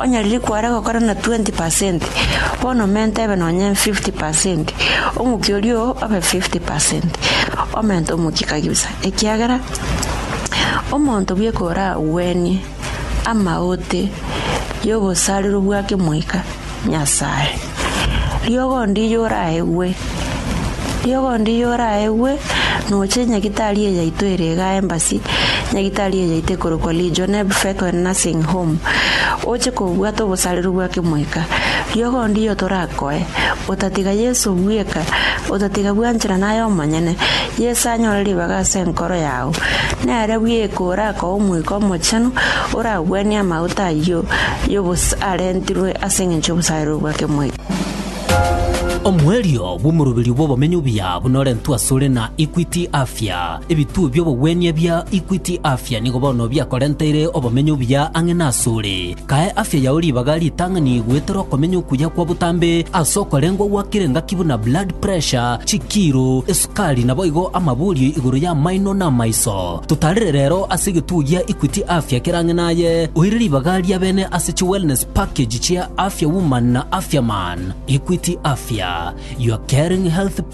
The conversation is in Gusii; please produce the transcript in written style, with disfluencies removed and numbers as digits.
Onye riria kware gokora na 20%, bono omente ebe nonye 50%, omokia oria oo obe 50%. Omente omokia kabisa, ekiagera omonto bweka oragwenie amaote y'obosarero bwa kemoika Nyasae. Riogo ndiyo oraegwe, riogo ndiyo oraegwe, noche nyagitari eye yaito ere igaa embassy, nyagitari eye yaito ekorokwa Legionnaire Bethel Nursing Home, oche kobwata obosareru bwa kemoika. Riogo ndiyo torakoe, otatiga Yeso bweka, otatiga bwanchera naye omonyene, Yeso anyore ribaga ase enkoro yao. Nere bweka orakoe Omoika Omochenu, oragwenie amauta ayio y'obos arentirwe ase engencho y'obosareru bwa kemoika. Omoerio bw'omoroberio bw'obomenyo obuya buna orentwe asore na Equity Afya. Ebituo bi'obogwenia bia Equity Afya nigo bono biakorenteire obomenyo obuya ang'e nasore. Kae afya yao ribaga ritang'ani goetera okomenya okuya kwa botambe ase okorengwa gwa kera engaki buna blood pressure, chikiro, esukari naboigo amaborio igoro y'amaino na amaiso. Totarere rero ase egetuo gia Equity Afya kere ang'e naye, oire ribaga ria bene ase chi wellness package chia Afya Woman na Afya Man. Equity Afya, your caring health partner.